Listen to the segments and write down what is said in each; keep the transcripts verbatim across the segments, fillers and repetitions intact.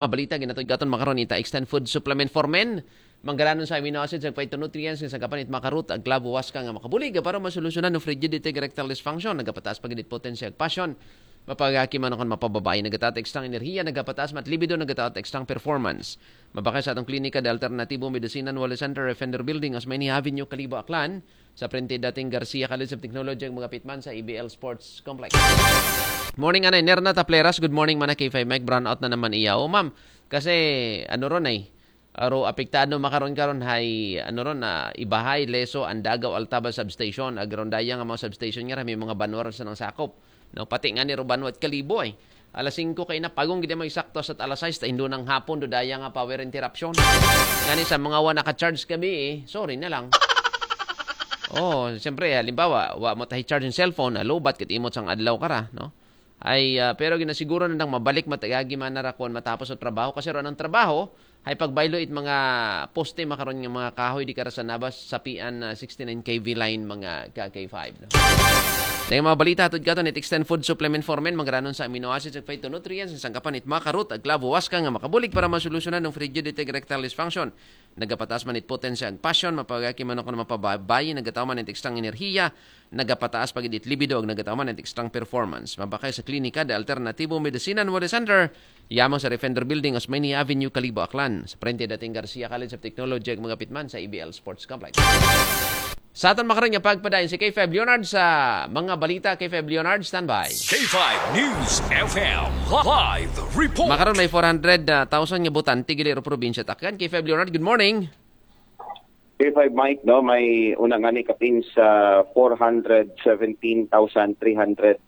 Mabalita, ginatod katon makaron ita Extend Food Supplement for Men. Manggalanon sa amino acids ug phytonutrients nga sangkapan it makarot ag klabo waska nga makabulig para masolusyonan ang frigidity ug erectile dysfunction. Nagapataas pa gid it potency ug passion. Mapagaki man kon mapababayi, nagataas extrang enerhiya, nagapataas mat libido, nagataas extrang performance. Mabakay sa atong klinika de Alternatibo Medicina and Wellness Center, Defender Building, Osmeña Avenue, Kalibo, Aklan. Sa prente dating Garcia College of Technology ang mga pitman sa E B L Sports Complex. Morning, Anay Nerna Tapleras. Good morning, mana K five Mike. Brownout na naman iya. O, ma'am, kasi ano ron ay, aro apektado makaron karon hay ano ron na Ibahay, Leso, Andagaw, Altaba substation. Agron daya nga mga substation nga may mga banwar sa nang sakop. No, pati nga ni Rubanwat Kalibo ay. Alas singko kay na pagong gid mo eksakto sa alas sais ta indo ng hapon do daya nga power interruption. Ngani sa mga wa naka-charge gabi eh, sorry na lang. Oh, siyempre, halimbawa, wa mo tahi charge yung cellphone, low bat kit imot sang adlaw kara, no? Ay, ah, pero ginasiguro na nang mabalik matagagi man na rakon matapos sa trabaho kasi ron ang trabaho, hay pagbaylo it mga poste makaron nga mga kahoy di kara sa nabas sapian na sixty-nine K V line mga ka K five, no? Dahil mga balita hatod katon it Extend Food Supplement for Men, manggalanon sa amino acids ug phytonutrients, ang sangkapan it makarot ag klabo waska nga makabulig para masolusyonan ang frigidity ug erectile dysfunction. Nagapataas man it potency ag passion, mapagaki man ako na mapababayi, nagataw man it extrang enerhiya, nagapataas pa gid it libido ug nagataw man it extrang performance. Mabakay sa klinika de Alternatibo Medicina and Wellness Center, yamang sa Defender Building, Osmeña Avenue, Kalibo, Aklan. Sa prente dating Garcia College of Technology ug mga pitman sa E B L Sports Complex. Sa aton makaron nga pagpadayon si K five Leonard sa mga balita. K five Leonard, standby. K five News F M live report. Makaron may four hundred thousand nga botante gili ro probinsya Takyan. K five Leonard, good morning. K five Mike, no, may una nga ni kapin sa four hundred seventeen thousand three hundred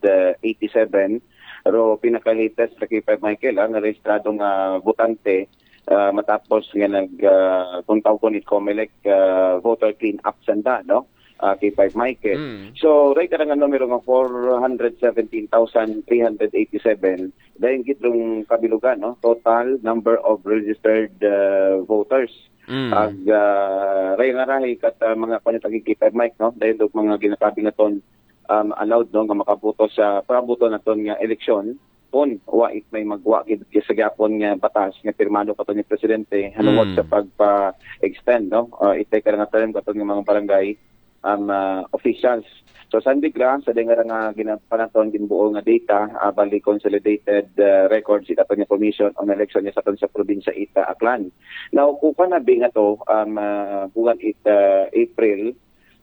eighty-seven. Pero pinaka-latest sa K five Michael, ang rehistradong ah, botante ah, matapos nga nag uh, kung tawag ko ni Comelec ah, voter clean up sanda, no? Ah, K five Michael. Mm. So, right ka nga numero nga four hundred seventeen thousand three hundred eighty-seven, dahil gitong kabilugan, no? Total number of registered ah, voters. Mm. Ag uh, ray nga rahi kat ah, mga panitagi K five Mike, no? Dahil og mga ginakabi nga ton um, allowed, no, nga makaboto sa pagkaboto naton nga eleksyon, kun wa it may magwa gid sa gyapon nga batas nga pirmado kato ni presidente hanungod Mm. sa pagpa-extend, no, uh, itay ka nga term kato nga mga barangay um, uh, officials. So, sandig ra sa dengara nga ginapanaton ginbuo nga data, uh, bali consolidated uh, records ita nga Commission on Election sa aton sa probinsya ita Aklan. Now, kuha na bi nga to, um, uh, buwan it uh, April,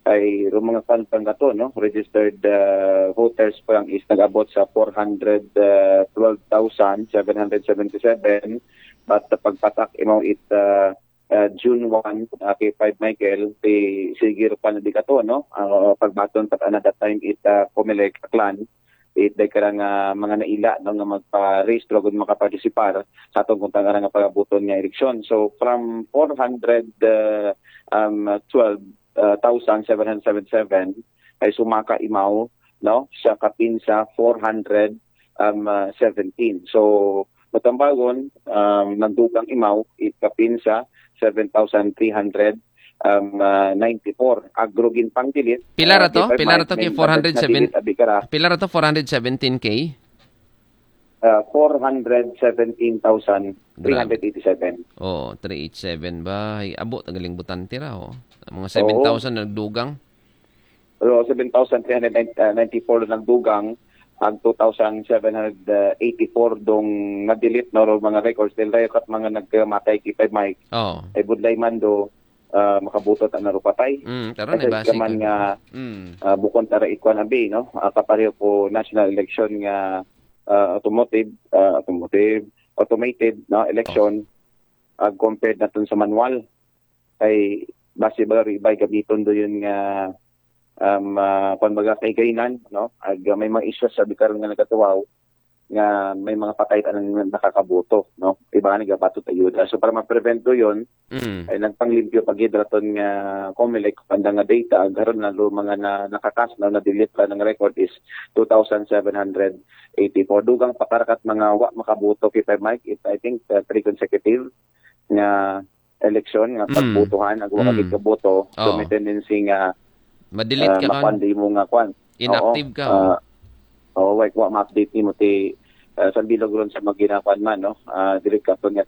ay ro mga kwan pa nga to, no? Registered uh, voters pa lang is nag-abot sa four hundred twelve thousand seven hundred seventy-seven, but uh, pagpatak imaw it uh, uh, June one, uh, K five Michael, ti sige ro pa na di ka to, no? Uh, pagbaton pa na that time it uh, Comelec Aklan, it day karang uh, mga naila, no, nga magparehistro kung makapartisipar sa atong kuntang nga pagabuton nga eleksyon. So from four hundred uh, um, twelve uh, thousand seven hundred seventy-seven ay sumaka imaw, no, sa kapin sa four hundred um, uh, seventeen. So matambagon, um, nagdugang imaw it kapin sa seven thousand three hundred um, uh, ninety-four. Agro gin pangdilit. Pila ra uh, to? K five Pila ra Mike, to kay may four hundred seven? nadilit abi kara. Pila ra to? Four hundred seventeen K? Uh, four hundred seventeen thousand three hundred eighty-seven. Oh, three eight seven ba? Ay, abo, tagaling botante ra, oh. Mga seven thousand nagdugang. Pero seven thousand three hundred ninety-four nagdugang, ang two thousand seven hundred eighty-four dong na-delete, no, ro mga records. Dahil rayo kat mga nagkamatay K five Mike, Oh. ay budlay man do, ah, makabutot ang narupatay. Mm, karon Kasi ay base ka man ka. nga, Mm. ah, bukon tara ikwan abi, no? Ah, kapareho ko national election nga ah, automotive, ah, automotive, automated, no, election, ag compared naton sa manual. Kay base ba ri iba'y gamiton do yun nga um, uh, kung baga kay gainan, no? Ag uh, may mga issues sa karon nga nagatuwaw nga may mga patay pa nang nakakaboto, no? Iba nga nagabatot ayuda. So para ma-prevent do yun, Mm. ay nagpanglimpyo pa gid raton nga Comelec panda nga data, ag karon na lo mga na, nakakas na na-delete pa ng record is two thousand seven hundred eighty-four. Dugang pakarakat mga wa makaboto K five Mike, it, I think uh, three consecutive nga election nga Mm. pagbotohan, ag wa Mm. ka gid kaboto. So Oo. may tendency nga Ma-delete uh, ka kan. Makuan di mo nga kuan. Inactive ka, Oo. oh. Uh, oh, wait, wa ma-update nimo ti ah, sa bilog ron sa mga ginakuan man, no? Ah, diri ka pagkat